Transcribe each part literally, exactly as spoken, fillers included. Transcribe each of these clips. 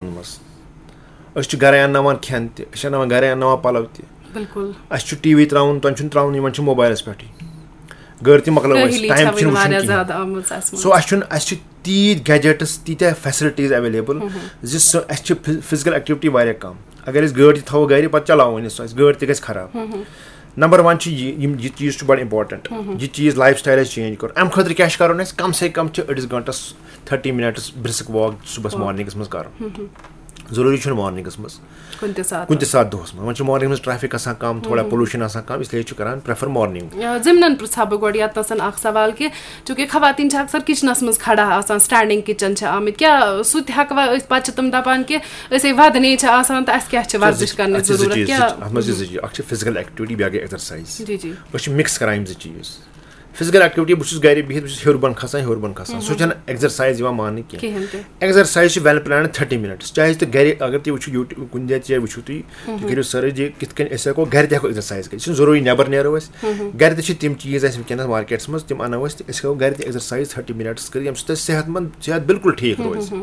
منٛز۔ أسۍ چھِ گرے انناوان کھٮ۪ن تہِ، أسۍ چھِ انناوان گرے انناوان پلو تہِ۔ بِلکُل۔ اَسہِ چھُ ٹی وی تراوُن، تۄہہِ چھُنہٕ تراوُن، یِمن چھُ موبایلس پٮ۪ٹھٕے۔ گٲڑۍ تہِ مۄکلٲو اَسہِ، کٲہِلی ٹایم چھےٚ وٕنہِ واریاہ واریاہ زیادٕ زیادٕ آمٕژ اَسہِ منٛز۔ سو اَسہِ چھُنہٕ، اَسہِ چھِ تیٖتۍ گیجٹس، تیٖتیٛاہ فیسلٹیٖز ایویلیبل زِ سُہ، اَسہِ چھِ فزیکل ایکٹیویٹی واریاہ کم۔ اگر أسۍ گٲڑۍ تہِ تھاوو گرِ، پتہٕ چلاوو نہٕ سۄ، اَسہِ گٲڑۍ تہِ گژھِ خراب۔ نمبر ون چھُ یہِ، یِم، یہِ چیٖز چھُ بڑٕ امپورٹنٹ۔ یہِ چیٖز لایف سٹایل اَسہِ چینج کرُن، اَمہِ خٲطرٕ کیٛاہ چھُ کرُن اَسہِ؟ کم سے کم چھُ أڑِس گٲنٹس تھٔٹی منٹس برسک واک صُبحس واک۔ مارننگس منٛز کرُن۔ ضروٗری چھُنہٕ مارننگس منٛز، کُنہِ تہِ ساتہٕ۔ کُنہِ تہِ ساتہٕ دۄہس منٛز۔ وۄنۍ چھُ مارننگ منٛز ٹریفک آسان کم، تھوڑا پولوشن آسان کم، اس لیے چھُ کران پریفر مارننگ۔ آ، ضمنن پرژھا بہٕ گۄڈٕ یتنس اکھ سوال کہِ چونکہ خواتین چھِ اکثر کچنس منٛز کھڑا آسان، سٹینڈنگ کچن چھِ آمٕتۍ، کیٛاہ سُہ تہِ ہٮ۪کوا أسۍ؟ پتہٕ چھِ تِم دپان کہِ أسۍ ہے ودنے چھِ آسان تہٕ اسہِ کیٛاہ چھِ ورزش کرنٕچ اَتھ چھِ زٕ ضروٗرت؟ چیٖز، کیٛاہ اَتھ منٛز چھِ زٕ چیٖز۔ اکھ چھِ فزیکل ایکٹیویٹی، بیٚیہِ گٔے ایکزرسایز۔ جی جی۔ أسۍ چھِ مکس کران یِم زٕ چیٖز۔ فزیکل ایکٹیویٹی، بہٕ چھُس گرِ بِہِتھ، بہٕ چھُس ہیوٚر بۄن کھسان، ہیوٚر بۄن کھسان، سُہ چھَنہٕ ایکزرسایز یِوان ماننہٕ کینٛہہ۔ کِہیٖنۍ تہِ۔ ایکزرسایز چھِ ویل پلانڈ تھٔٹی منٹس۔ چاہے تُہۍ گرِ اگر تُہۍ وٕچھِو یوٗٹیوٗب کُنہِ جایہِ تہِ وٕچھِو تُہۍ، تُہۍ کٔرِو سرچ زِ کِتھ کٔنۍ أسۍ ہٮ۪کو گرِ تہِ ہٮ۪کو ایکزرسایز کٔرِتھ۔ یہِ چھُنہٕ ضروٗری نٮ۪بر نیرو أسۍ۔ گرِ تہِ چھِ تِم چیٖز اَسہِ وٕنکیٚنس مارکیٹس منٛز، تِم اَنو أسۍ تہٕ أسۍ ہٮ۪کو گرِ تہِ ایکزرسایز تھٔٹی منٹس کٔرِتھ، ییٚمہِ سۭتۍ اَسہِ صحت مند، صحت بالکل ٹھیٖک روزِ۔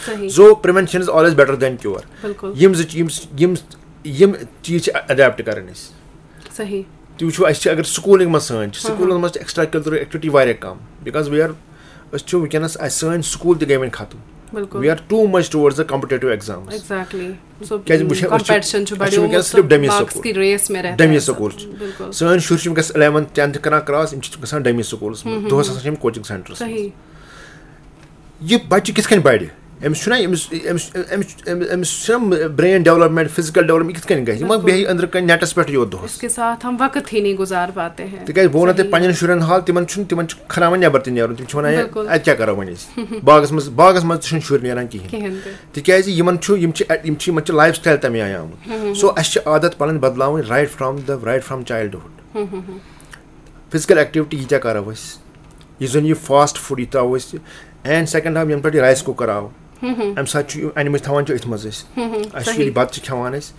صحیح۔ So prevention is always better than cure۔ بِلکُل۔ یِم زٕ یِم یِم یِم چیٖز چھِ اڈیپٹ کرٕنۍ اَسہِ۔ صحیح۔ تُہۍ وٕچھِو، اَسہِ چھِ اگر سکوٗلِنگ منٛز سٲنۍ چھِ، سکوٗلن منٛز چھِ ایکسٹرا کیریکولر ایکٹیویٹی واریاہ کم، because we are، أسۍ چھِ وٕنکیٚنس، اَسہِ سٲنۍ سکوٗل تہِ گٔے وۄنۍ ختم۔ بِلکُل۔ We are too much towards the competitive exams۔ Exactly. So کیازِ وٕچھ، أسۍ چھِ، کمپیٹشن چھُ أسۍ چھِ بڑیومُت، وٕنکیٚنس صرف ڈمی مارکس سکوٗل۔ کی ریس میں رہتا ڈمی ہے سب۔ سکوٗل چھِ۔ بِلکُل۔ سٲنۍ شُرۍ چھِ وٕنکیٚس الیونتھ ٹینتھ کران کراس، یِم چھِ گژھان ڈمی سکوٗلس منٛز، دۄہس آسان چھِ یِم کوچنگ سینٹرس منٛز۔ صحیح۔ یہِ بچہِ کِتھ کٔنۍ بڑِ؟ أمِس چھُنہ، أمِس أمِس أمِس أمِس أمِس چھُنہ برین ڈیولپمنٹ، فزیکل ڈیولپمنٹ، یہِ کِتھ کٔنۍ گژھِ؟ یہِ ما بِلکُل۔ بیٚہہِ أنٛدرٕ کَنہِ نیٹس پٮ۪ٹھ یوت دۄہس؟ اس کے ساتھ ہم وقت ہی نہیں گزار پاتے ہیں۔ تِکیازِ بہٕ وَنو تۄہہِ صحیح۔ پننٮ۪ن شُرٮ۪ن حال، تِمن چھُنہٕ، تِمن چھُ کھراوان نٮ۪بر تہِ نیرُن، تِم چھِ وَنان، "ہے، بِلکُل۔ اَتہِ کیٛاہ کَرو وۄنۍ أسۍ؟" باغس منٛز، باغس منٛز تہِ چھُنہٕ شُرۍ نیران کِہیٖنۍ۔ کِہیٖنۍ تہِ۔ تِکیازِ یِمن چھُ، یِم چھِ، یِم چھِ، یِمن چھِ لایف سٹایل تَمہِ آیہِ آمُت۔ سو اَسہِ چھِ عادت پَنٕنۍ بدلاوٕنۍ right from the right from childhood۔ Physical activity ییٖتیٛاہ کَرو أسۍ، یُس زَن یہِ فاسٹ فوڈ یہِ ترٛاوو أسۍ، اینڈ سیکنڈ ہاو یَنہٕ پٮ۪ٹھ یہِ رایس کُکر آو، اَمہِ ساتہٕ چھُ یہِ، اَنِمٕژ تھاوان چھِ أتھۍ منٛز أسۍ۔ اَسہِ چھُ صحیح۔ ییٚلہِ بَتہٕ چھِ کھٮ۪وان أسۍ،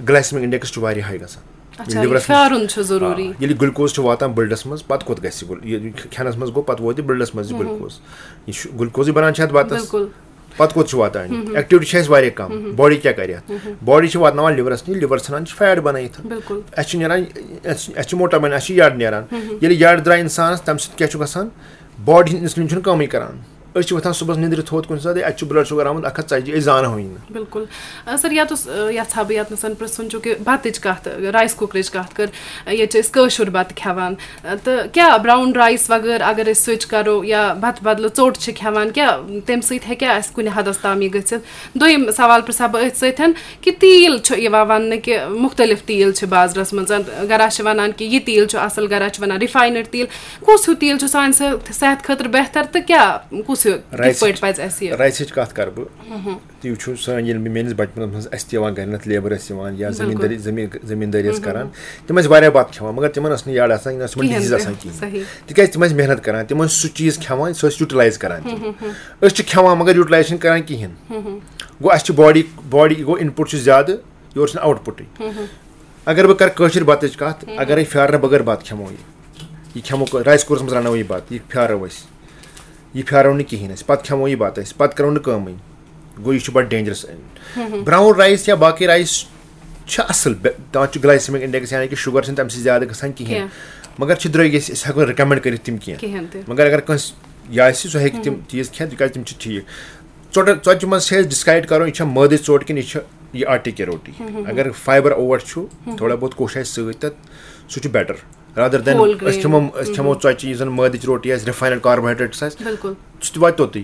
گلایسمک انڈیکس چھُ واریاہ ہاے گژھان۔ اچھا، ییٚلہِ یہِ لِورَس پھیٛارُن منٛز، چھُ ضروٗری۔ آ، ییٚلہِ گلوکوز چھُ واتان بٕلڈس منٛز، پَتہٕ کوٚت گژھِ یہِ گل-، یہِ کھٮ۪نَس منٛز گوٚو، پَتہٕ ووت یہِ بٕلڈس منٛز یہِ گلوکوز۔ یہِ چھُ گلوکوزٕے بَنان چھِ اَتھ بَتَس۔ بِلکُل۔ پَتہٕ کوٚت چھُ واتان یہِ؟ ایکٹیویٹی چھِ اَسہِ واریاہ کم۔ باڈی کیٛاہ کَرِ اَتھ؟ باڈی چھِ واتناوان لِورَس نِش، لِور ژھٕنان چھِ فیٹ بَنٲیِتھ۔ بِلکُل۔ اَسہِ چھُ نیران، اَسہِ اَسہِ چھُ موٹا بَنان، اَسہِ چھُ یَڈ نیران۔ ییٚلہِ یَڈ درٛاے اِنسانَس، تَمہِ سۭتۍ کیٛاہ چھُ گژھان؟ باڈی ہُنٛد انسولین چھُنہٕ کٲمٕے کَران۔ أسۍ چھِ وۄتھان صُبحَس نِندرِ تھوٚد کُنہِ ساتہٕ، اَتہِ چھُ بٕلڈ شُگر آمُت اَکھ ہَتھ ژَتجی، أسۍ زانہوٕے نہٕ۔ بِلکُل۔ آ، سر، یَتھ اوس، آ، یَژھٕ ہا بہٕ یَتنَس پرٛژھُن، چوٗنٛکہِ بَتٕچ کَتھ، رایِس کُکرٕچ کَتھ کٔر، آ، ییٚتہِ چھِ أسۍ کٲشُر بَتہٕ کھٮ۪وان، آ، تہٕ کیٛاہ براؤن رایِس وغٲر اگر أسۍ سُوِچ کَرو یا بَتہٕ بدلہٕ ژوٚٹ چھِ کھٮ۪وان، کیٛاہ تَمہِ سۭتۍ ہیٚکیٛاہ اَسہِ کُنہِ حدَس تام یہِ گٔژھِتھ؟ دوٚیِم سوال پرٛژھٕ ہا بہٕ أتھۍ سۭتۍ کہِ تیٖل چھُ یِوان وَننہٕ کہِ مُختٔلِف تیٖل چھِ بازرَس منٛز، گَرا چھِ وَنان کہِ یہِ تیٖل چھُ اَصٕل، گَرا چھِ وَنان رِفاینٕڈ تیٖل، کُس ہیوٗ تیٖل چھُ سانہِ صحت، صحت خٲطرٕ بہتر تہٕ کیٛاہ، کُس ہیوٗ، کِتھ رایسٕچ، پٲٹھۍ پَزِ اَسہِ یہِ؟ رایسٕچ کَتھ کَرٕ بہٕ۔ تُہۍ وٕچھِو، سٲنۍ ییٚلہِ مےٚ میٲنِس بَچپَنَس منٛز اَسہِ تہِ یِوان گَرِ نَتہٕ لیبَر ٲسۍ یِوان یا بِلکُل۔ زٔمیٖندٲری، زٔمیٖن، زٔمیٖندٲری ٲسۍ کَران، تِم ٲسۍ واریاہ بَتہٕ کھٮ۪وان، مگر تِمَن ٲس نہٕ یَڈ آسان، نہ ٲس تِمَن کِہیٖنۍ ڈِزیٖز تہِ۔ آسان کِہیٖنۍ۔ صحیح۔ تِکیٛازِ تِم ٲسۍ محنت کَران، تِم ٲسۍ سُہ چیٖز کھٮ۪وان، سُہ ٲسۍ یوٗٹِلایز کَران تِم۔ أسۍ چھِ کھٮ۪وان، مگر یوٗٹِلایز چھِنہٕ کَران کِہیٖنۍ۔ گوٚو اَسہِ چھِ باڈی، باڈی گوٚو اِن پُٹ چھُ زیادٕ، یورٕ چھُنہٕ آوُٹ پُٹٕے۔ اگر بہٕ کَرٕ کٲشِر بَتٕچ کَتھ، اگرے پھیٛارنہٕ بغٲر بَتہٕ کھٮ۪مو یہِ، یہِ کھٮ۪مو رایِس کُکرَس منٛز رَنو یہِ بَتہٕ، یہِ پھیٛارو أسۍ، یہِ پھیٛارو نہٕ کِہیٖنۍ أسۍ، پَتہٕ کھٮ۪مو یہِ بَتہٕ أسۍ، پَتہٕ کَرو نہٕ کٲمٕے، گوٚو یہِ چھُ بَڑٕ ڈینجرس۔ براؤن رایِس یا باقٕے رایِس چھِ اَصٕل، بے-، تَتھ چھُ گلایسیمک انڈیکس، یعنی کہِ شُگر چھِنہٕ تَمہِ سۭتۍ زیادٕ گژھان کِہیٖنۍ۔ کِہیٖنۍ۔ مگر چھِ درٛوگۍ، أسۍ، أسۍ ہٮ۪کو نہٕ رِکمنڈ کٔرِتھ تِم کینٛہہ۔ کِہیٖنۍ تہِ۔ مگر اگر کٲنٛسہِ یہِ آسہِ، سُہ ہیٚکہِ تِم چیٖز کھٮ۪تھ، تِکیٛازِ تِم چھِ ٹھیٖک۔ ژۄٹہٕ، ژۄچہِ منٛز چھِ أسۍ ڈِسکرایب کَرُن، یہِ چھا مٲدٕچ ژوٚٹ کِنہٕ یہِ چھِ یہِ آٹے کی روٹی۔ اگر فایبر اوٹ چھُ، تھوڑا بہت کوٚش آسہِ سۭتۍ تَتھ، سُہ چھُ بیٹر۔ رادر دین Whole أسۍ کھٮ۪مو، grain۔ أسۍ کھٮ۪مو ژۄچہِ، یُس زَن مٲدٕچ روٹی آسہِ، رِفاینڈ کاربوہایڈریٹس آسہِ، بِلکُل۔ سُہ تہِ واتہِ توٚتُے۔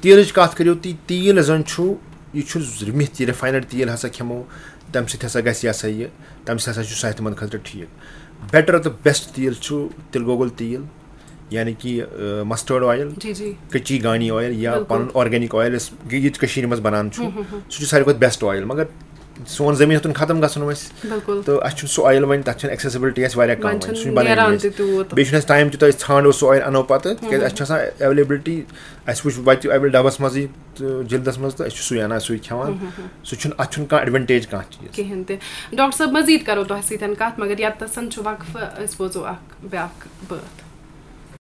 تیٖلٕچ کَتھ کٔرِو تُہۍ، تیٖل زَن چھُ، یہِ چھُ رِمِتھ، یہِ رِفاینڈ تیٖل ہسا کھٮ۪مو، تَمہِ سۭتۍ ہسا گژھِ یہِ ہسا یہِ، تَمہِ سۭتۍ ہسا چھُ صحتہِ مند خٲطرٕ ٹھیٖک۔ بیٹر تہٕ بیسٹ تیٖل چھُ تِلہٕ گۄگُل تیٖل، یعنی کہِ، آ، مسٹٲرڈ آیِل، جی، جی۔ کچی گانی آیِل یا بِلکُل۔ پَنُن آرگینک آیِل، یُس ییٚتہِ کٔشیٖرِ منٛز بَنان چھُ، سُہ چھُ ساروی کھۄتہٕ بیسٹ آیِل۔ مگر سون زٔمیٖن ہیوٚتُن ختم گژھُن وۄنۍ۔ بِلکُل۔ تہٕ اَسہِ چھُنہٕ سُہ آیِل وۄنۍ، تَتھ چھُنہٕ ایکسیسبلٹی اَسہِ واریاہ کَم وۄنۍ وۄنۍ، چھُنہٕ سُہ چھُنہٕ بَنٲنی نیران اَسہِ۔ تہِ تیوٗت۔ بیٚیہِ چھُنہٕ اَسہِ ٹایم تیوٗتاہ، أسۍ ژھانڈو سُہ آیِل، اَنو پَتہٕ، تِکیٛازِ اَسہِ چھِ آسان ایویلیبلٹی، اَسہِ وٕچھ وَتہِ ایویلیبل ڈَبَس منٛزٕے تہٕ جِلدَس منٛز، تہٕ أسۍ چھِ سُے اَنان، سُے کھٮ۪وان۔ سُہ چھُنہٕ، اَتھ چھُنہٕ کانٛہہ ایڈوانٹیج کانٛہہ چیٖز۔ کِہیٖنۍ تہِ۔ ڈاکٹر صٲب، مزید کرو تۄہہِ سۭتۍ کتھ، مگر یتتھن چھُ وقفہٕ، أسۍ بوزو اکھ بیاکھ بٲتھ۔